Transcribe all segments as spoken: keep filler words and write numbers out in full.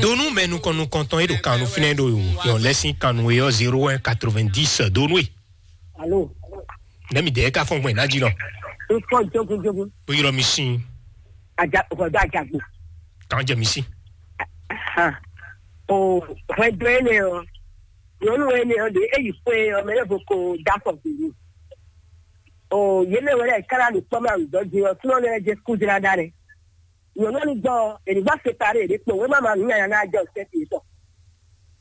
Donu mɛ nukɔn nukɔntɔn e ɖo kannu fínɛ́ ɖo yɔn lɛ́sín kannu e ɔ́ zéro un quatre-vingt-dix donu e. Alo. Nɛmi dɛ ka fɔn gbɛn n'a jí nɔ. Ifɔ jogun jogun. O yɔrɔ mi sin. Aja, hwɛdo ajagbo. Kan jɛ mi sin. Ahan. O, hwɛdo ene ɔ. Nyɔnu ene ɔ de eyi fue ɔ mɛ lɛ vo ko dakɔ gbili. O, yele wɛ lɛ kala ɖo kpɔmɛ awudɔ di ɔ, sunɔ lɛ jɛ kudra da lɛ. Nyɔnu ni gbɔ, eni gba separe ɖe kpo wema ma nu nyanya na jɔ sɛ ti tɔ.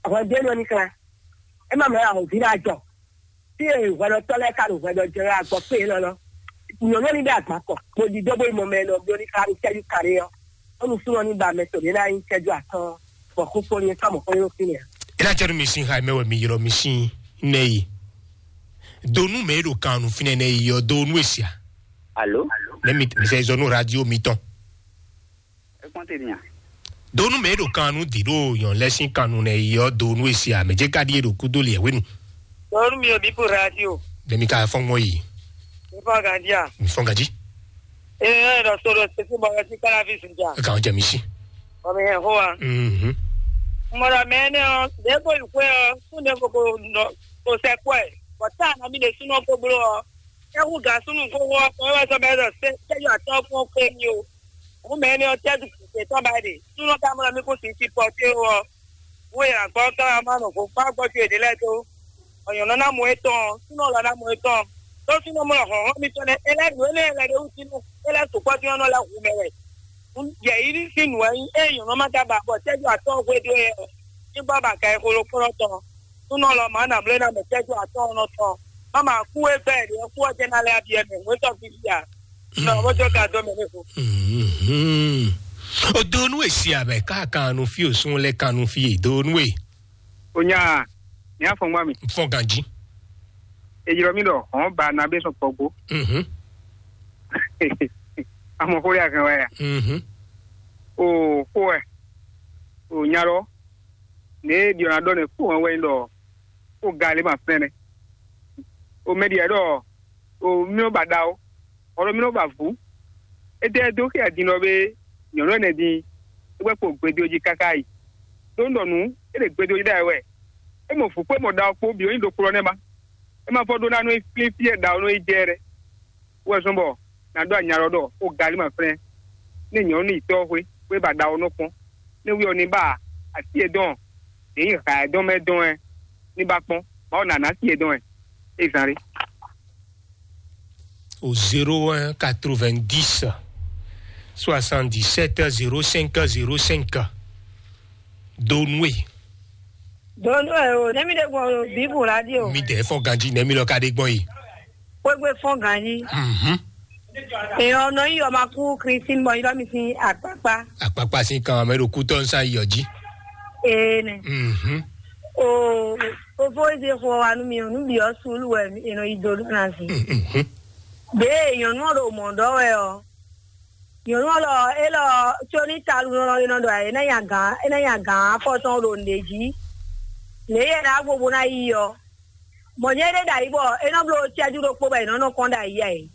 Hwɛdo ene ɔ ni kla. Ema mɛ ahɔvi na jɔ. Tí e hwɛɖɔtɔ́ lɛ́ɛ ka ɖo hwɛɖɔ jɛ wɛ agbɔ kpé élɔ́ lɔ. Nyɔ̌nu ní ɖe agban kɔ, bó ɖidó bó yi mɔ mɛ nɔ bló ní xá ní cɛ́jú kaɖé ɔ́. Bónú súnɔ ní ba mɛ tɔn ɖě ná nyí cɛ́jú atɔ́ɔ́n, bɔ xóxó ní sɔ́ mɔ̌ xó nyí fínɛ́ ǎ. É ná jɛ nú mi sín xá mɛ wɛ mi ylɔ́ mi sín nɛ yi. Do nú mɛ e ɖo kan nú fínɛ́ nɛ yi ɔ́, do nú e sia. Alo? Nɛ mi mi sɛ zɔ nú radio mitɔn. É kpɔ́n te din a? Donu mɛ e ɖo kan nu di ɖo yɔn lɛ sín kan nu nɛ yi ɔ́, donu e si amɛ jɛ ka ɖi e ɖo kúdó liɛ wenu. Donu mi o bipu radio. Ɖe mi ka fɔn mɔ yi. Mi fɔn gandia. Mi fɔn ganji. Ee, ɖɔ so ɖo sisi bɔ ɛ si kala vi sunja. Kan jɛ mi si. Ɔ mi hɛn ho wa. Mhm. Mɔdɔ mɛ ne ɔ, ɖe ko yi xwe ɔ, kun ɖe ko ko nɔ ko sɛ kpɔ ɛ. Bɔ ta na mi ɖe sunɔ ko blo ɔ. Ɛ hu ga sunu ko wɔ, ɔ wɛ sɔ bɛ ɖɔ sɛ, sɛ yɔ atɔ fún ɔ kpe mi o. Hǔn mɛ énɛ́ ɔ́, tɛ́ ɖu kpǐkpé tɔn ba é ɖe. Súnnu ka mlɔ́ mì kún sixú sipɔ́té ó ɔ́, wú e nǎ gbɔ ɔ́ ká wá má nɔ vo kpá gbɔ́jú yěɖée lɛ́ɛ dó. Bɔ nyɔ̌nu ná mɔ étɔn, súnnu lɔ ná mɔ étɔn. Đó súnnu mlɔ́ hlɔ̌nhlɔ́n mitɔn nɛ́, é lɛ́ nǔ énɛ́ lɛ́ ɖé wú tínú, é lɛ́ sukpɔ́ dín ɔ́ nɔ lɛ́ hu mɛ wɛ. Yɛ̌yíɖí sín nǔ wɛ nyí ée nyɔ̌nu ɔ́ ma ka ba bɔ tɛ́jú atɔ́ hwedó ɛ ɔ́, ní gbɔ ba ka e xolo kplɔ́n tɔn. Súnnu lɔ mǎ nǎ mlɔ́ ná mɛ tɛ́jú atɔ́ ɔ́ nɔ tɔn. Má ma kú é gbɛ́ ɖě ɔ́ kú ɔ́ jɛ ná lɛ́ abyɛ́ mɛ, nǔ é tɔ́ gbígbí a? Non, mo jɔ ka dɔn mɛ ne ko. Mhm. O donu e si amɛ ka kanu fi o sun lɛ kanu fi e donu e. O nya, ní afɔngba mi. Fɔn ganji. Ejirɔ mi ɖɔ hɔn ba na bɛ sɔn kpɔgbo. Mhm. Amɔ xo ya kan wɛ ya. Mhm. O xo wɛ. O nya ɖɔ. Ne ɖiɔ na ɖɔ ne xo wɛ wɛ ɖɔ. O ga le ma fɛnɛ. O mɛ ɖiɛ ɖɔ. O mí nɔ ba ɖa ó, xɔ ɖɔ mí nɔ ba vǔ. Étɛ́ dó xia din ɔ́ bé nyɔ̌nu ɛnɛ din, é gbɛ́ kpo gbedo jí káká yi. Ɖó un ɖɔ nǔ, é ɖe gbedo jí ɖa wɛ. É mɔ vǔ kpó mɔ ɖa ɔ́ kpó bǐ ó nyí ɖokpó ɔ́ nɛ́ má. É ma fɔ ɖó ná nɔ yi flín fí e ɖa ɔ́ nɔ yi jɛ lɛ́ɛ. Wɛ zɔn bɔ nǎ ɖó anyalɔ ɖɔ xó galí ma flɛ́n. Ní nyɔ̌nu ní yi tɔ́ xwé, xwé ba ɖa ɔ́ nɔ kpɔ́n. Ní wí ɔ́ ní ba así e dɔn, ɖě nyí ha e dɔn mɛ dɔn ɛ ní ba kpɔ́n. Mawu nǎ ná así e dɔn ɛ. É zán ɖé. Au zéro un quatre-vingt-dix soixante-dix-sept zéro cinq zéro cinq. Donue. Donue o, ne mi ɖe gbɔn o, bibu radio. Mi dɛ fɔ ganji ne mi lɔ ka ɖe gbɔn yi. Kpégbé fɔn ganji. Mhm. Èèyàn ọ̀nà yìí ọmọ akú Christine bọ̀ yìí lọ́mí sí àpápá. Àpápá sí kan àmọ́ èrò kú tọ́ ń sá iyọ̀ jí. Ee nè. Mhm. O, o fo eze xɔ wa nu mi o, nu bi ɔ sulu wɛ ènɔ yi do lɔ na si. Mhm. Bee nyɔnu ɔ ɖo mɔ dɔ wɛ ɔ. Nyɔnu ɔ lɔ, e lɔ, tso ní talu nɔ e nɔ ɖɔ e na nya gan, e na nya gan afɔ tɔn ɖo nɖe jí. Lě yɛ na gbogbo na yi ɔ. Mɔ̌ nyɛ ɖé ɖo ayǐ bɔ é nɔ bló cɛ́jú ɖokpó bɔ è nɔ nɔ kɔn ɖo ayǐ ɛ.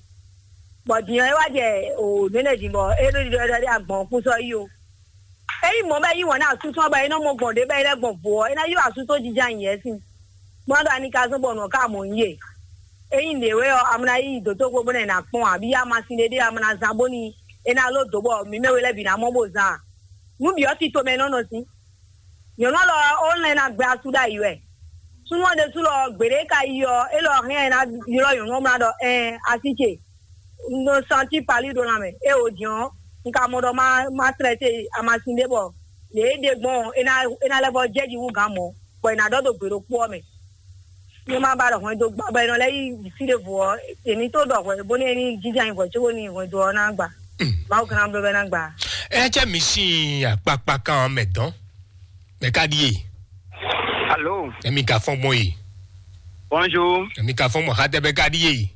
Bɔ din ɔ́, é wá jɛ o nɛnɛ din bɔ é ɖo ɖiɖɔ ɖɔ ɖé agbɔ̌n kún sɔ́ yí o. Ényí mɔ̌ bɔ é yí wǎn nú asú tɔn bɔ é nɔ mɔ gbɔn ɖě bɔ é lɛ́ gbɔn vo ɔ́, é ná yí asú tó jija nyi yɛ̌ sin. Má ɖo ani ka zɔ́n bɔ nǔ ɔ́ ka mɔ nyí e. Ényí nǔɖé wɛ ɔ́, a ma ná yí dǒtóxwé bó ná ná kpɔ́n ǎ, abǐ a ma sin ɖéɖé a ma ná zán bónú é ná ló dǒ bɔ mǐ mɛ we lɛ́ɛ bǐ ná mɔ bó zán a? Nǔ bǐ ɔ́ tito mɛ é nɔ nɔ sín. Nyɔ̌nu ɔ́ lɔ ɔ́, ó lɛn ná gbɛ asú ɖ'ayǐ wɛ. Súnnu ɔ́ ɖésú lɔ, gbeɖé ka yi ɔ́, é lɔ hɛn ɛ ná ylɔ́ nyɔ̌nu ɔ́ mlá ɖɔ: "Ɛɛn, así ce, un nɔ santi pali ɖó lanmɛ." É wǒ din ɔ́, un ka mɔ ɖɔ má má tlɛ te amasin ɖé bɔ lě e ɖe gbɔn ɔ́, é ná é ná lɛ́ vɔ́ jɛ jí hú gǎn mɔ̌, bɔ è nǎ ɖɔ ɖo gbe ɖokpó ɔ́ mɛ. Ní má ba ɖɔ hwɛndo gbɔ bɔ è nɔ lɛ́ yí fí ɖěvo ɔ́, è ní tó ɖɔ hwɛ bónú é ní jínjɔ́n ayǐ hwɛ cóbónú hwɛndo ɔ́ ná gba. Mawu gán bló bɛ́ ná gba. Ɛ jẹ́ mi sín akpakpa kan mɛ dɔn. Mɛ ka ɖíe. Alo. Emi ka fɔn gbɔn yi. Bonjour. Emi ka fɔn gbɔn xatɛ bɛ ka ɖíe.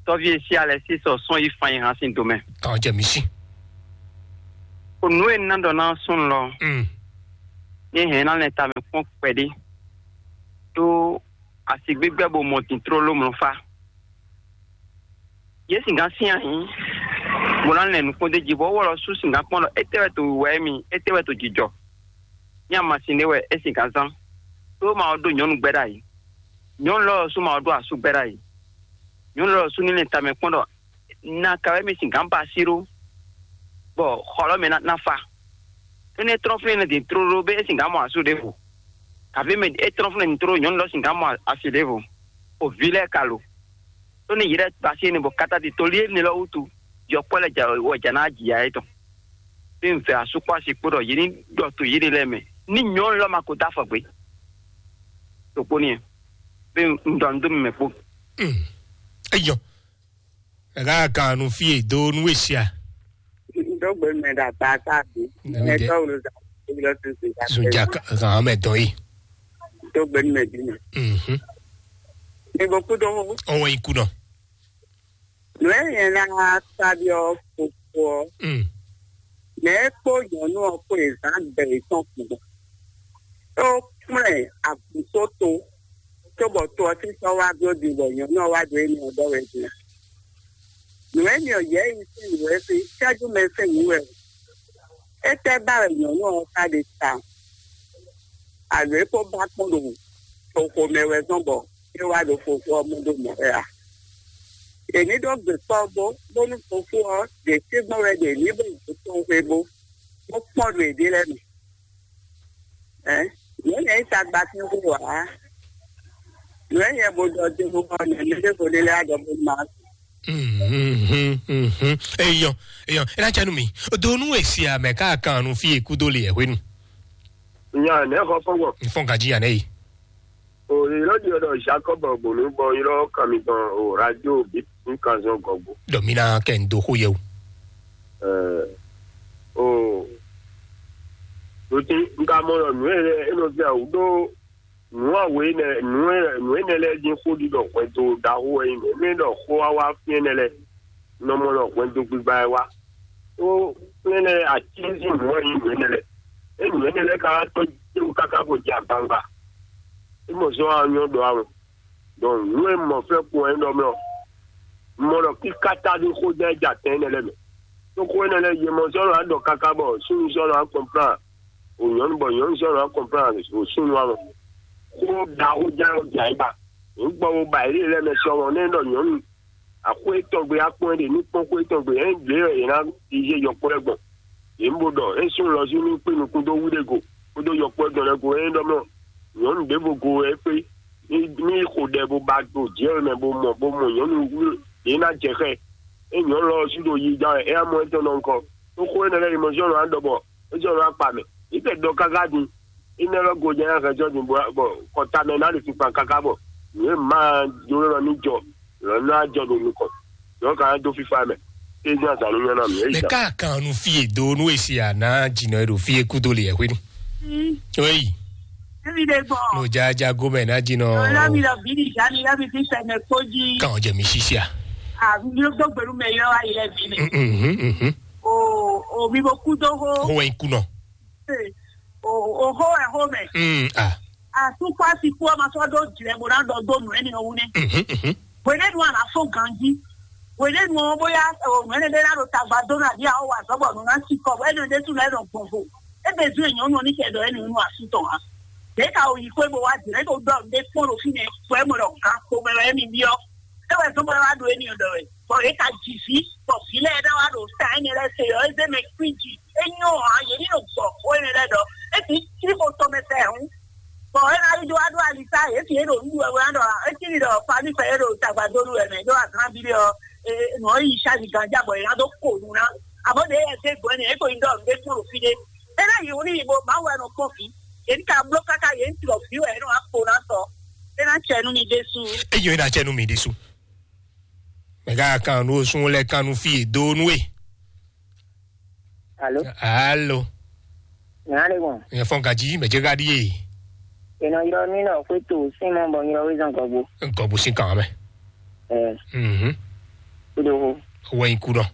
Tɔvi esi alɛ si sɔ sɔn yi fan yi hàn sin domɛ. Kan jɛ mi si. O nu e na dɔ na sun lɔ. Mm. Ni hɛn na lɛ ta mɛ kpɔn kpɛdi. To asi gbígbɛ bo mɔ dintro ló mlɔ fa. Yé sìgá sín ahǐ. Bó ná lɛn nukpɔ́n d'é jí, bɔ é wɔ lɔ sú singán kpɔ́n ɖɔ étɛ́ wɛ to wǐwá émí, étɛ́ wɛ to jijɔ. Ní amasin ɖé wɛ é singán zán. Ɖó ma ɔ́ ɖó nyɔ̌nu gbɛ́ ɖ'ayǐ. Nyɔ̌nu lɔ ɔ́ sú ma ɔ́ ɖó asú gbɛ́ ɖ'ayǐ. Nyɔ̌nu lɔ ɔ́ sú ní lɛn tamɛ kpɔ́n ɖɔ na ka wɛ mì singán ba así ɖó, bɔ xɔ lɔ mɛ ná, ná fa. Énɛ́ trɔ́n fínɛ́ din tlóló bé é singán mɔ asú ɖěvo. Kàví mɛ é trɔ́n fínɛ́ din tlóló nyɔ̌nu lɔ singán mɔ asi ɖěvo. O vǐ lɛ́ɛ ka lo. Tó ní yě lɛ́ɛ ba así énɛ́ bɔ kata din tolí énɛ́ lɔ wútu, yɔkpɔ́ lɛ́ɛ ja wɛ ja ná jǐ ya étɔn. Bí un fɛ asú kpó asi kpó ɖɔ yě ní ɖɔ to yěɖée lɛ́ɛ mɛ. Ní nyɔ̌nu lɔ ma ko dó afɔ gbé. Ɖokpó n'i, bí un ɖɔ nǔ dó mi mɛ kpó. Eyɔ, ɛgá kan nu fí e dó nú e sia. Dó gbe mɛ ɖo agba ká bí. Nɛmi dɛ. Mɛ tɔ́ wolo zan. Wolo sese. Zunja kan mɛ dɔn yi. Dó gbe mɛ bí mɛ. Mhm. Mi bo kú dó. Ɔwɔ yi kú nɔ. Nǔ e nyɛ ná sa ɖɔ fofo ɔ́, Mm. Mɛ e kpó nyɔ̌nu ɔ́ kpó yě zán gbɛ yětɔn kpɔ́n. É kplɔ́n ɛ agǔnsóto, cóbɔ to ɔ́ sín sɔ́ wá bló din bɔ nyɔ̌nu ɔ́ wá ɖo émí ɔ́ ɖɔ wɛ din. Nǔ e nyɔ yɛ̌yi sín nǔ e sín cɛ́jú mɛ sín nǔ wɛ o. Étɛ́ ba wɛ nyɔ̌nu ɔ́ ka ɖe tawun? Alo é kó ba kpɔ́n ɖo toxo mɛ wɛ zɔ́n bɔ é wá ɖo fofo ɔ́ mɔ ɖó mɔ̌ wɛ a? È ní ɖó gbe kpɔ́ bó, bónú fofó ɔ́ ɖe tɛ́gbɔn wɛ ɖe ní bó ɖo tɔn xwé bó, bó kpɔ́n ɖo yěɖée lɛ́ɛ mɛ. Ɛ, nǔ énɛ́ nyí tagba sín xó ǎ. Nǔ énɛ́ nyɛ bo ɖɔ dó xó ɔ́ nɛ́ mɛ ɖěvo ɖé lɛ́ɛ á ɖɔ bó ma. Mhm, mhm. Eyɔ, eyɔ, é ná cɛ nú mi. Donu e si amɛ ká kan nu fí e kúdó le ɛ hwenu. Nya nɛ xɔ fɔgbɔ. Fɔn gaji ya nɛ yi. O ylɔ di ɔdɔ Jacob bonu bɔ ylɔ kami gbɔn o radio bi n kan zɔn gɔgbo. Dɔ mi na kɛ n do xo yɛ o. Ɛɛ, o, ɖo tí n ka mɔ ɖɔ nǔ e lɛ e nɔ fia wǔ ɖó nǔ awe énɛ́, nǔ e nǔ énɛ́ lɛ́ɛ dín xó ɖiɖɔ hwɛndo ɖaxó wɛ nyí mɛ. Mɛ ɖɔ xó wá wá fí énɛ́ lɛ́ɛ, nɔ mɔ ɖɔ hwɛndo gbigba wɛ wá. Ó énɛ́ lɛ́ɛ atínsín nǔ wɛ nyí nǔ énɛ́ lɛ́ɛ. É nǔ énɛ́ lɛ́ɛ ka wá tɔ́ jɛ́wú káká bó jɛ agbangba. É mɔ zɔ́n wá nyɔ́ ɖɔ awɔn. Dɔn nǔ e mɔ fɛ́ kpɔn ɛ ɖɔ mɛ ɔ́, mɔ ɖɔ kíkáta ɖé xó jɛ jɛ atɛn énɛ́ lɛ́ɛ mɛ. Tó xó énɛ́ lɛ́ɛ yě mɔ sɔ́ nɔ wá ɖɔ káká bɔ súnnu sɔ́ nɔ wá kɔnplán, o nyɔ̌nu bɔ nyɔ̌nu sɔ́ nɔ wá kɔnplán o súnnu wá mɔ. Xó ɖaxó jɛ ɔ́ jɛ ayǐ ba. Nǔ gbɔ wo ba yě lɛ́ɛ mɛ sɔmɔ nɛ́ ɖɔ nyɔ̌nu axwé tɔn gbe akpɔ́n ɖe ní kpɔ́n xwé tɔn gbe ɛ ɖě wɛ yě ná yiyi yɔkpɔ́ lɛ́ɛ gbɔn. Yě mɔ ɖɔ é sún lɔ sí ní kpé nukún dó wú ɖé go kódó yɔkpɔ́ dɔn lɛ́ɛ go é ɖɔ mɔ nyɔ̌nu ɖěvo go wɛ é kpé ní ní xo ɖɛ bó ba ɖo jǐ mɛ bó mɔ bó mɔ nyɔ̌nu wú yě ná jɛ xɛ. É nyɔ̌nu lɔ sí ɖo yi ja wɛ é amɔ étɔn nɔ ŋkɔ. Tó xó énɛ́ lɛ́ɛ yi mɔ sɔ́ nɔ á ɖɔ bɔ é sɔ́ nɔ á kpa mɛ. Yě tɛ dɔ káká din. Énɛ́ lɔ gojɛ hɛn jɔ din bɔ kɔta mɛ ná ɖo tukpa káká bɔ nǔ e ma jló lɔ ní jɔ lɔ ná jɔ ɖo nukɔn. Yɔ ka dó fífá mɛ. Ézin azǎn ní nyɔ́ ná mì. Mɛ ká kan nu fie do nú esi a ná dzinɔ e ɖo fie kúdo le yɛ hwenu. Oyi. Evi ɖe gbɔ. No jaja gomɛ ná dzinɔ. Lɔ mi lɔ bi ni ja mi lɔ mi fi sɛ mɛ kpó jí. Kan jɛ mi sisi a. A mi ló dó gbɛlú mɛ yɔ ayi lɛ bi mɛ. Mhm, mhm. O o mi bo kú dó hó. Hó wɛ ń kú nɔ. Ee, o o xó wɛ xó mɛ. Mm, ah. Asukpɔ asi kú ɔmɔ sɔ ɖó jlɛ bó ná ɖɔ dó nǔ ɛnɛ ɔ́ wú nɛ. Mhm, mhm. Hwenɛ́nu a nǎ fɔ́n ganjí. Hwenɛ́nu ɔ́ bóyá o nǔ ɛnɛ ɖé ná ɖo tagba dó nú abǐ a ó wa azɔ̌ bɔ nǔ ná si kɔ bɔ ɛnɛ ɖésú lɛ́ɛ nɔ gbɔn vo. É bɛ zú nyɔ̌nu ɔ́ ní kɛ ɖɔ ɛnɛ nú asú tɔn ǎ. Ɖě ka o yi xwé bó wá jlɛ é ko ɖɔ nǔ ɖé kpɔ́n ɖo fínɛ́ bɔ é mɔ ɖɔ gan kpo mɛ wɛ émí byɔ́. É wɛ zɔ́n bɔ é wá ɖo émí ɖɔ wɛ. Bɔ é ka ji vǐ, bɔ vǐ lɛ́ɛ ɖɔ wá ɖo ta énɛ́ lɛ́ɛ se ɔ́, é zé mɛ kwíji. É nyɔ́ ǎ, yě ní ɖo gbɔ xó énɛ́ lɛ́ɛ ɖɔ. É bǐ cí xo tɔn mɛ fɛ hǔn. Bɔ é ná yi ɖó wá ɖó ali sá, yě fi é ɖo nǔɖuɖu wɛ wá ɖɔ, é cí ɖi ɖɔ fami fɛ é ɖo tagba dó nú wɛ mɛ, ɖó azán bí ɖé ɔ́, nǔ ɔ́ yi sázi ganjá bɔ è ná dó ko nu ná. Amɔ̌ ɖě yɛ dé gbɔn énɛ́, é ko yi ɖɔ nǔ ɖé kpɔ́n ɖo fí ɖé. É ná yi wú ní yi bo Mawu wɛ nɔ kpɔ́n vǐ. Yě ní ka bló káká yě ní tlɔ vǐ wɛ é nɔ wá kpo ná sɔ. É ná cɛ nú mi ɖésú. Eyo é ná cɛ nú mi ɖésú. Mɛ ká kan nu sun lɛ kan nu fi do nu e. Alo. Alo. Nya le gbɔn. Nya fɔn gaji mɛ jɛ gadi ye. Ena yɔ mi nɔ fwe to sin mɔ bɔ yɔ wezan gɔgbo. Gɔgbo sin kan mɛ. Ɛ. Mhm. Kudo ho. Wɛn kudɔ.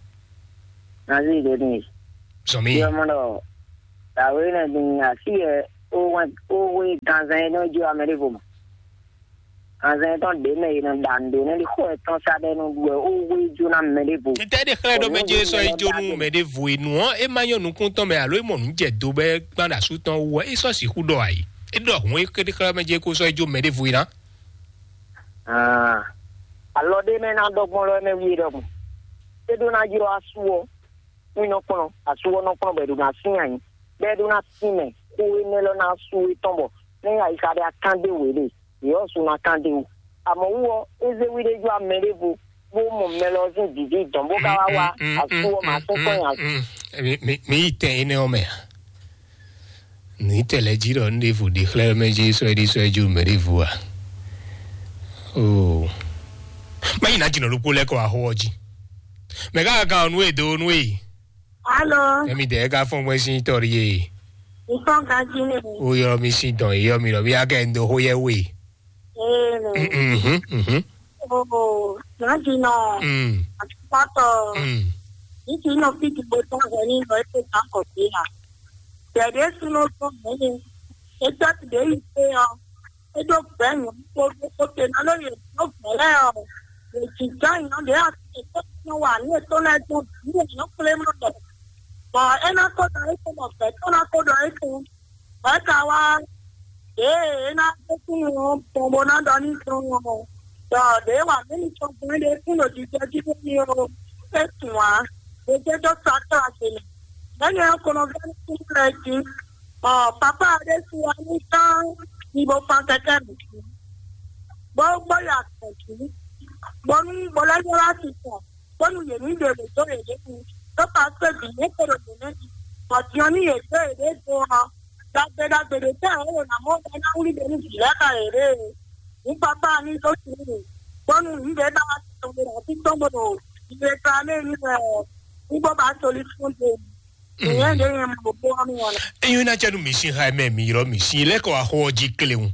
Nazi de ni. Sɔmi. Yɔ mɔ dɔ. Tawe na din asi yɛ o wɛn o we ganzan yɛ n'o jo amɛ de vo ma. Azɛn tɔn ɖě mɛ è nɔ ɖa nǔ ɖó nɛ́ ɖi xó ɛ tɔn sa ɖɛ nú ɖu wɛ ó hwe jó ná mɛ ɖěvo. Ntɛ́ ɖe xlɛ́ ɖó mɛ Bɔ nǔ jɛ sɔ yi ɖé jó nú mɛ ɖěvo e nǔ ɔ́, é má nyɔ́ nukúntɔn mɛ alo é mɔ nǔ jɛ do bɔ é gbán ɖo asú tɔn wú ɔ́, é sɔ́ sixú ɖɔ ayǐ. É ɖɔ hǔn é xlɛ́ mɛ jɛ kó sɔ́ yi jó mɛ ɖěvo e ná. Alɔ ɖé mɛ ná ɖɔ gbɔn lɔ mɛ wi ɖɔhun. É ɖó ná ylɔ́ asú ɔ́, nú nɔ kplɔ́n asú ɔ́ nɔ kplɔ́n bɔ è ɖo ná sín ayǐ, bɔ é ɖó ná sín mɛ xó énɛ́ lɔ ná sú étɔn bɔ nɛ́ ayixa ɖé akán ɖé wě ɖe, yě ɔ́ su ná kán ɖé wú. Amɔ̌ wú ɔ́, é zé wí ɖé jó amɛ ɖěvo bó mɔ mɛ lɔ sín vǐví dɔn bó ka wá wá asú ɔ́ mǎ sín kɔn nyi asú. Mi yi tɛn énɛ́ ɔ́ mɛ a? Nǔ tɛ́ lɛ́ɛ jí ɖɔ un ɖěvo ɖe xlɛ́ mɛ jí sɔ́ é ɖi sɔ́ é jí mɛ ɖěvo a? Oo. Má yi ná jǐnɔ ɖokpó lɛ́ kɔ axó ɔ́ jí. Mɛ ká kan ɔ́ nú e dó nú e. Alo. Ɛmi dɛ ká fɔn gbɛn sín tɔrí e. Nǹkan kan jí ni. Ó yɔ mi sín dɔn, yɔ mi lɔ bí akẹ́ ń do xó yɛ wé. Ee. Mhm, mhm. Oo, nǎjínɔ. Mm. Àtúntò. Mm. Yìí kì í nɔ fíjì gbogbo ọ̀hún ní lọ ètò ìdákọ̀ sí à. Tẹ̀dé súnú tó mẹ́lẹ̀. Ètò ìdè yìí pé ọ. Ètò gbẹ̀yìn gbogbo kòtè náà lóye tó gbẹ̀lẹ́ ọ. Èjì gbẹ̀yìn náà lè àti ètò ìtàn wà ní ètò náà tó bí èèyàn pélé mọ́ bẹ̀. Bọ̀ ẹ ná kó dọ̀ ètò mọ̀ bẹ̀ tó ná kó dọ̀ ètò. Bɔ é ka wá ɖěe é ná dó kúnnu ɔ́ gbɔn bó ná ɖɔ n'i tɔn ɔ́, ɖɔ ɖěe wa mǐ ní tɔn gbɔn é ɖe kún ɖo jijɛ jí nú mì ó, é tunwun ǎ, ɖě jɛ dó sa tlá ce mɛ. Bɛ́ nyɛ ɔ́ ko nɔ vɛ́ nú kúnnu lɛ́ɛ jí, bɔ papá ɔ́ ɖésú wá ní gán ní bó fán kɛkɛ́ mǐ jí, bó gbɔ yi azɔ̌ jí, bónú bó lɛ́ ylɔ́ asi tɔn, bónú yě ní ɖe wǔ dó yěɖée wú. Ɖó paseke bǐ yě kpo ɖo nǔ nɛ́ jí, bɔ din ɔ́ ní yě dó yěɖée do ɔ́, ɖagbe ɖagbe ɖě tɛ́ ɔ́ wǒ ná mɔ bɔ é ná wlí ɖe nú vǐ lɛ́ɛ xá yěɖée. Nǔ papá ní dó sin mì, bónú nǔ ɖě ba wá tɔn ɖe ɖo así tɔn bó ɖo yě kla mɛ ní wɛ ɔ́, ní bó ba solution dó. Nyɛ ɖě nyɛ mɔ bó ɔ́ nú ɔ́. Enyo ná cɛ nú mi sín xá mɛ mi ylɔ́ mi sín lɛ́ kɔ axó ɔ́ jí kléwún.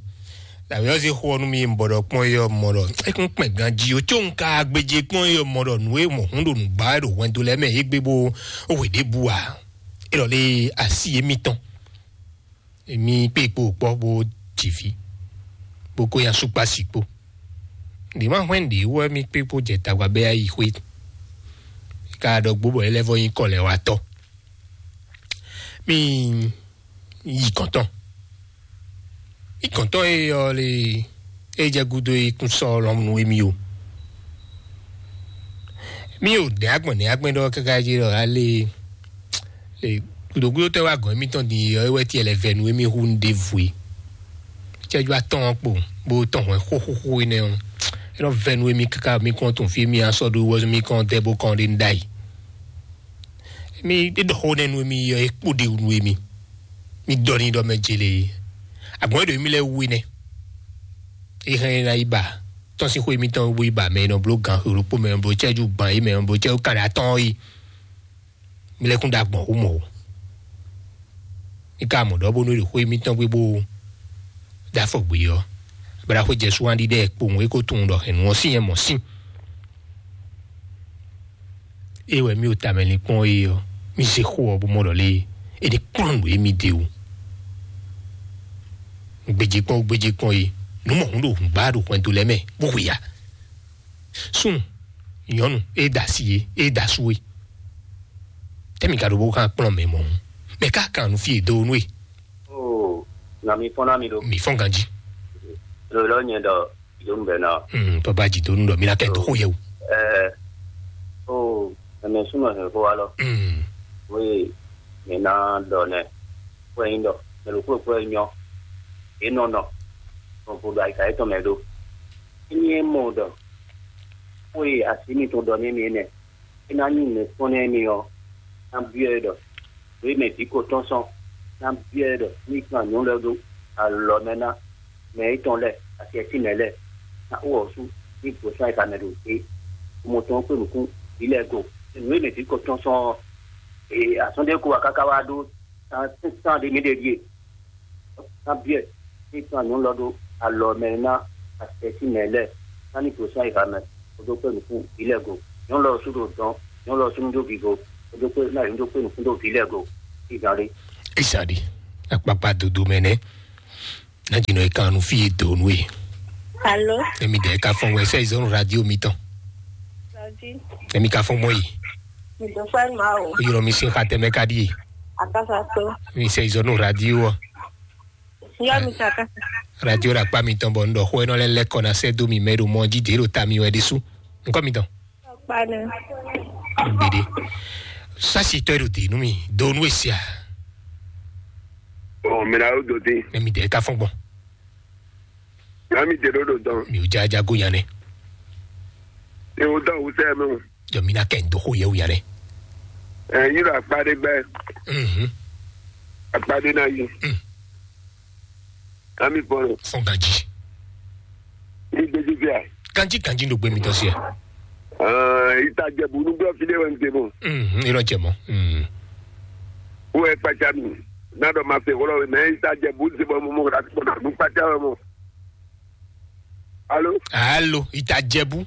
Dàbí ɔ́ zé xó ɔ́ nú mi bɔ ɖɔ kpɔ́n yɔ mɔ ɖɔ é kún kpɛn ganjí ó có un ka gbéjé kpɔ́n yɔ mɔ ɖɔ nǔ e mɔ hún ɖo nǔ ba wɛ ɖo hwɛndo lɛ́ɛ mɛ é gbé bó hwe ɖěbǔ ǎ. É lɔ lé asi émítɔn. Èmi kpé kpo kpɔ́ bó jǐví bó kó nyi asúkpási kpó. Ɖě ma hwɛ́n ɖě wú wɛ mì kpé kpo jɛ tagba bɛ́ yi xwé. Ka ɖɔ gbó bɔ é lɛ́ vɔ nyí kɔlɛ́watɔ́. Mi yi kɔntɔn. Yi kɔntɔn e ɔ le e jɛ gudo e kún sɔ lɔmnu emi o. Mi o nɛ agbɔn nɛ agbɛn ɖɔ káká jí ɖɔ ale le gudogudo tɛ wa gɔn emi tɔn di ɔ e wɛ tiɛ lɛ vɛ nu emi hu nu ɖe vwe. Cɛju atɔn kpo bó tɔn hwɛ xóxóxó enɛ ɔ. E nɔ vɛ nu emi káká mi kɔn tɔn fi mi asɔ ɖo wɛ mi kɔn dɛ bó kɔn ɖe nu ɖayi. Mi ɖe ɖɔ xó nɛ nu emi yɔ e kpo ɖe nu emi. Mi dɔ ni ɖɔ mɛ jele. Agbɔn ɖo emi lɛ wu nɛ. E hɛn na yi ba. Tɔn si xó emi tɔn wu yi ba mɛ nɔ blo gan xo ɖokpo mɛ nɔ blo cɛju gban yi mɛ nɔ blo cɛju kan ɖe atɔn yi. Mi lɛ kún ɖe agbɔn xó mɔ o. Mi ka mɔ ɖɔ bónú ɖo xó emi tɔn gbé bó ɖe afɔ gbé ɔ. Abla xó jɛ suwan ɖiɖɛ kpowun e ko tunwun ɖɔ hɛn nu ɔ sín yɛ mɔ sín. Ée wɛ mì ɖo tamɛ linkpɔ́n é ɔ́, mì se xó ɔ́ bó mɔ ɖɔ lé é ɖe kplɔ́n nǔ e mì ɖe o. Gbejekpɔ́n gbejekpɔ́n é, nǔ mɔ̌hun ɖo hǔngbá ɖo hwɛndo lɛ́ɛ mɛ bó hu ya. Súnnu, nyɔ̌nu, é da asi é, é da asú é. Tɛ́ mì ka ɖo bó xán kplɔ́n mɛ mɔ̌hun? Mɛ ká kan nǔ fí e dó nú é. Oo, na mi fɔ́n ná mi ɖo. Mǐ fɔ́n ganjí. Ɖo lɔ nyɛ ɖɔ jidonu bɛ na. Mm, papa jidonu ɖɔ mi na kɛ dó xó yɛ o. Ɛɛ, oo, ɛmɛ súnmɔ hɛn xó wa lɔ. Mm. Oye, mi na ɖɔ nɛ. Wɛ nyi ɖɔ mɛ ɖokpó ɖokpó wɛ nyɔ. E nɔ nɔ. Nɔ vo ɖo ayika yetɔn mɛ ɖo. Emi e mɔ ɖɔ. Oye, asi mi tɔn ɖɔ nɛ mi enɛ. É ná nyí nǔkpɔ́n nú émí ɔ́, ná byɔ́ ɛ ɖɔ nǔ e mɛ vǐ ko tɔ́n sɔ́, ná byɔ́ ɛ ɖɔ ní kan nyɔ̌nu lɛ́ɛ ɖó alɔ mɛ ná mɛ étɔn lɛ́ɛ, asi ɛ sín mɛ lɛ́ɛ, ná wú ɔ̌ sú ní gbǒ sán e ka mɛ ɖo é. Xomɔ tɔn kpé nǔkún vǐ lɛ́ɛ go. Nǔ e mɛ vǐ ko tɔ́n sɔ́ ɔ́, azɔn ɖé ko wá káká wá ɖó tán tán ɖé mí ɖe ɖíe. Ná byɔ́ ɛ, ní tún anyǔ lɔ ɖó alɔ mɛ ná asɛsí mɛ lɛ́ɛ, ná ní gosín ayixa mɛ, bó dó kpé nǔkún vǐ lɛ́ɛ go. Nyɔ̌nu lɔ sú ɖo dɔn, nyɔ̌nu lɔ sú ní dó vivo, bó dó kpé ná yě ní dó kpé nǔkún dó vǐ lɛ́ɛ go. Ìzan ɖé. Ìzan ɖé. Akpakpa dodo mɛ nɛ́. Ná jǐ nɔ e kan nú fí e dǒ nú e. Alo. Emi ɖe ka fɔn wɛ sɛ izɔnu radio mi tɔn. Emi ka fɔn mɔ yi. Mi do fɛ ma o. Oyɔrɔ mi sin xa tɛmɛ ka di. Akasa to. Mi sɛ izɔnu radio. Yɔ mi sa akasa. Radio ɖo akpa mitɔn bɔ un ɖɔ xó énɔ́ lɛ́ lɛ́ kɔ ná sɛ́ dó mi mɛ ɖo mɔ jí dě ɖo ta mi wɛ ɖésú. Nukɔ mitɔn. Kpanɛ. Gbede. Sasi tɔ ɖo dé nú mi do nú esia. Ɔ mi na yóò dó dín. Emi ɖe ka fɔn gbɔn. Nya mi dé ɖó ɖo dɔn. Mi ò já jago nya nɛ. Ní o dɔn wusɛ mi o. Jɔ mi na kɛ ndo xó yɛ wu nya nɛ. Ɛ yín ɖo akpa ɖé gbɛ. Mhm. Akpa ɖé na yi. Mm. Ami fɔlɔ. Fɔn ganji. Ní gbèsè fìyà. Ganji ganji ɖo gbé mi tɔ si ɛ. Ita jɛbu nugbɔ fi ɖé wɛ n te bɔ. Mhm. Irɔ jɛ mɔ. Mhm. Wo ɛ kpatsa mi. N'a dɔ ma se wolo mɛ ita jɛbu se bɔ mo mo ka kpɔ na nu kpatsa wɛ mo. Alo. Alo, ita jɛbu.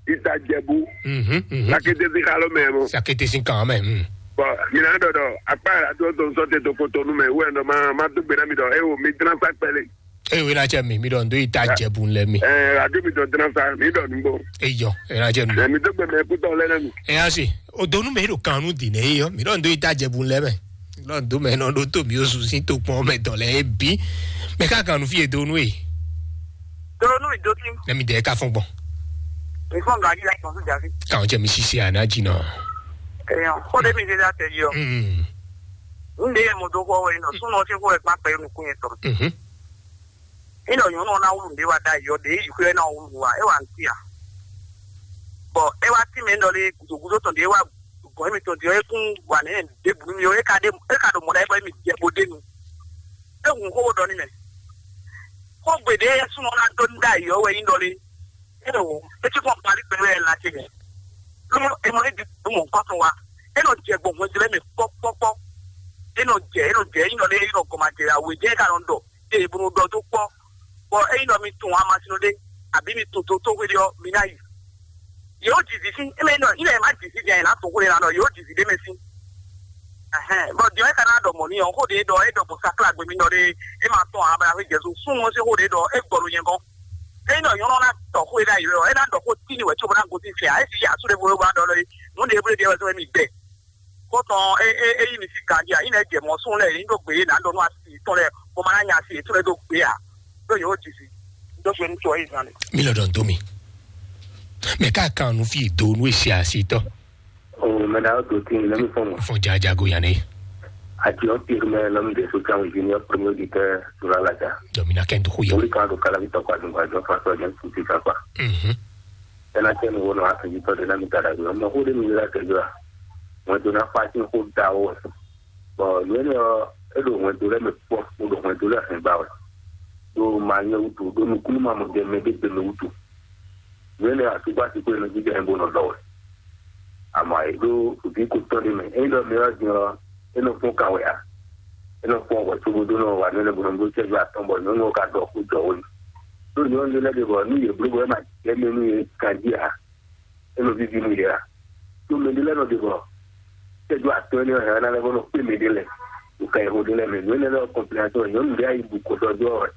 Ita jɛbu. Mhm. Mhm. Sakete si xalo mɛ mo. Sakete si kan mɛ. Mhm. Bɔn mina dɔ dɔ akpa yàrá tó tó nsɔ te to ko to nu mɛ wɛ dɔ ma ma do gbena mi dɔ e wo mi dran sa kpɛle. Eyo ena cɛ mi mi dɔ ndo ita jɛbu lɛ mi. Ɛ adu mi dɔ dran sa mi dɔ nugbo. Eyɔ ena cɛ mi. Ɛ mi do gbɛ mɛ kutɔ lɛ nɛ mi. Ɛ asi o donu mɛ ɖo kanu di nɛ eyɔ mi dɔ ndo ita jɛbu lɛ mɛ. Lɔ ndo mɛ nɔ ɖo to mi osu sin to kpɔn mɛ dɔ lɛ ebi. Mɛ ka kanu fi edonu e. Donu mi do ti. Nɛ mi dɛ ka fɔn gbɔn. Mi fɔn gaji la kɔn su jafi. Kan jɛ mi sisi ana jinɔ. Eyɔ ko de mi de da tɛ yɔ. Mm. N de yɛ mo do ko wɛ nɔ sunɔ se ko wɛ kpa pɛ nukun yɛ tɔ. Mhm. Ínɔ nyɔ̌nu ɔ́ ná wlú nǔɖé wá ɖ'ayǐ ɔ́, ɖě yi xwé ɔ́ ná wlú wá, é wá nǔ a? Bɔ é wá tínmɛ nɔ lé gǔdo gúdo tɔn ɖě wá gɔ̌n émítɔn din ɔ́, é kún wa nɛ̌ ɖěbǔ nú mì ɔ́, é ka ɖe é ka ɖo mɔ̌ ɖ'ayǐ bɔ émí jɛ bó ɖ'é nu. É hun xó bó ɖɔ n'i mɛ. Xógbe ɖě súnnu ɔ́ ná dó n'i ɖ'ayǐ ɔ́ wɛ nyí ɖɔ lé. É ɖo é cí kɔn parí pɛ́lú ɛ la ce mɛ. Ló é mɔ ní di mɔ nukɔn tɔn wa. É nɔ jɛ gbɔn hwɛndo lɛ́ɛ mɛ kpɔ́kpɔ́kpɔ́. É nɔ jɛ é nɔ jɛ é nɔ lé é nɔ gɔmajɛ awe jɛ é ka nɔ ɖɔ. Ée bó nɔ ɖɔ dó kpɔ́, bɔ ényí ɖɔ mi tunwun amasin ɖé, abǐ mi tunwun totóxwé ɖé ɔ́, mi ná yi. Yě ó jǐ zǐ sín, émɛ nɔ, nyí lɛ má jǐ zǐ jɛ, yě ná tunwun xó ɖé ná ɖɔ, yě ó jǐ zǐ ɖé mɛ sín. Ɛhɛn, bɔ din ɔ́, é ka ná ɖɔ mɔ̌ n'i ɔ́, xó ɖě ɖɔ é ɖɔ gbɔn sakla gbe mi nɔ ɖé, é ma tɔ́n ǎ, bɔ ná xwé Jezu súnnu ɔ́ sín xó ɖě ɖɔ é gbɔ ɖo nyɛ gɔ́n. Ényí ɖɔ nyɔ̌nu ɔ́ ná tɔ xó e ɖ'ayǐ wɛ ɔ́, é ná ɖɔ xó tíni wɛ cóbɔ ná gosín fɛ́ ǎ, é cí yě asú ɖěvo e wá ɖɔ lɔ é, nǔ ɖěvo ɖě wɛ zɔ́n émí gbɛ. Xó tɔn é é é yí mi sín ganjí ǎ, nyí lɛ́ jɛ mɔ̌ súnnu lɛ́ɛ, yě ní ɖó gbě yě ná ɖɔ nú asi yětɔn lɛ́ɛ, bó ma ná nya asi yětɔn lɛ́ɛ dó gbě ǎ. Ɖó yě ó ji si. Dó gbé nú tɔ́ Izan lɛ. Mi lɔ ɖɔn dó mi. Mɛ ká kan nu fí do nú èsì asitɔ. O mɛ na do tin lɛ mi fɔn mo. Fɔn jajago yanni. Ati o pir mɛ lɔ mi de so kan junior premier auditeur sur la laja. Jɔ mi na kɛ n to xo yɔ. Wuli kan do kala mi tɔkɔ adungba jɔ fa sɔ jɛ futi kakpa. Mhm. Ena tɛ mi wo nɔ asanji tɔ de na mi ta da do. Mɛ xo de mi la tɛ do a. Mɛ do na fa sin xo da o. Bɔn nǔ énɛ́ ɔ́, é ɖo hwɛndo lɛ́ɛ mɛ kpɔ́, bó ɖo hwɛndo lɛ́ɛ hɛn ba wɛ, ɖo ma nyɛ wútu, ɖo nukúnnú ma mɔ jɛ mɛ ɖé gbe mɛ wútu. Nǔ énɛ́ ɔ́, asúgbó asi kó e nɔ jínjɔ́n ɛ bó nɔ lɔ wɛ. Amɔ̌, è ɖó vǐ ko tɔn ɖé mɛ. Ényí ɖɔ mɛ ɔ́ din ɔ́, é nɔ fɔ́n kan wɛ ǎ. É nɔ fɔ́n hwɛ cóbó ɖó nɔ wa nǔ énɛ́ bó nɔ bló cɛ́jú atɔn bɔ nyɔ̌nu ɔ́ ka ɖɔ xó jɔ wó yi. Ɖó nyɔ̌nu ɖé lɛ́ɛ ɖe bɔ nú yě bló bɔ é ma jɛ mɛ nú yě ganjí ǎ. É nɔ víví nú yě a? Ɖó mɛ ɖé lɛ́ɛ nɔ ɖe bɔ tɛ́jú atɔ́ énɛ́ hɛn ná lɛ́ bó nɔ kpé mɛ ɖé lɛ́ɛ ɖo ka yexo ɖé lɛ́ɛ mɛ. Nǔ énɛ́ lɛ́ɛ ɔ́ kɔnplɛ́n atɔ́ nyɔ̌nu ɖé ayi bu kɔ ɖɔ ɖɔ wɛ.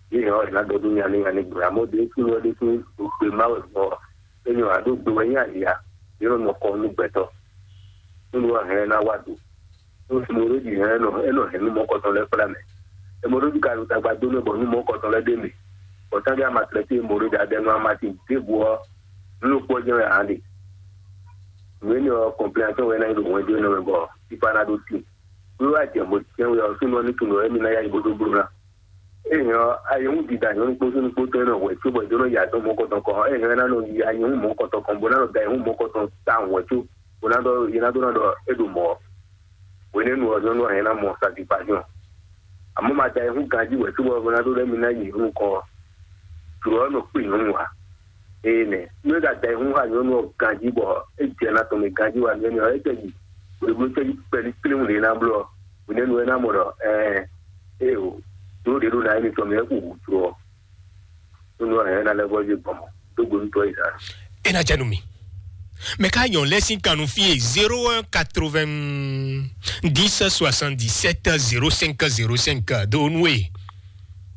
Yě hɛn ɔ́, è nǎ ɖɔ ɖó nya ní nya ní gblɔ. Amɔ̌ ɖě kún wɛ ɖésú ɖo gbe má wɛ gbɔ. É nyɔ ǎ ɖó gbe wɛ nyí ali a? Yě nɔ nɔ kɔ nú gbɛtɔ́. Nú wɛ hɛn ná wá do. Nú mo ɖó ɖi hɛn nɔ é nɔ hɛn nú mɔ̌kɔtɔn lɛ́ɛ kplá mɛ. È mɔ ɖó ɖi ka ɖo tagba dó nú bɔ nú mɔ̌kɔtɔn lɛ́ɛ ɖé mɛ. Bɔ tándé a ma tlɛ tí mo ɖó ɖi adɛ nú amasin ɖěbǔ ɔ́, nú ló kpɔ́ jɛ́n wɛ ǎ ɖe. Nǔ énɛ́ ɔ́, kɔnplɛ́nasɔ́n wɛ ná nyí ɖo hwɛndo énɛ́ mɛ bɔ fífá ná ɖó tíin. Nú wá jɛ mɔ jɛ́n wɛ ɔ́, súnnu ɔ́ ní tunwun ɖɔ émí ná yá yi bó dó bló ná. Ényɔ́, ayihún dida nyɔ̌nu kpó súnnu kpó tɔn e nɔ hwɛ có bɔ è dó nɔ yi azɔn mɔ̌kɔtɔn kɔn ɔ́, ényɔ́ é ná nɔ yi ayihún mɔ̌kɔtɔn kɔn bó ná nɔ da ayihún mɔ̌kɔtɔn tawun hwɛ có, bó ná ɖɔ yě ná dó ná ɖɔ é ɖo mɔ̌ ɔ́. Hwenɛ́nu ɔ́, nyɔ̌nu ɔ́ hɛn ná mɔ satisfaction. Amɔ̌ ma da ayihún ganjí hwɛ có bɔ bó ná dó ɖɔ émí ná yi nukɔn ɔ́. Jlǒ ɔ́ nɔ kpé nyɔ̌nu ǎ. Ée nɛ́, nú é ka da ayihún xá nyɔ̌nu ɔ́ ganjí bɔ é jɛ ná tɔn mɛ ganjí wá nú énɛ́ ɔ́, é tɛ yi hweblo cɛ́jú kpɛlí kléwún ɖě ná bló ɔ́, hwenɛ́nu é ná mɔ ɖɔ ɛɛ, éeǒ, jlǒ ɖě ɖo ná émítɔn mɛ é xu hǔ jló ɔ́. Nú ɔ́, hɛ̌n é ná lɛ́ vɔ́ yí gbɔn mɔ̌, dó gbe nú tɔ́ Izlayɛ́li. É ná jɛ nú mi. Mɛ ká nyɔ̌ lɛ́ sín kan nú fí e zéro un quatre-vingt-dix soixante-dix-sept zéro cinq zéro cinq dó nú e.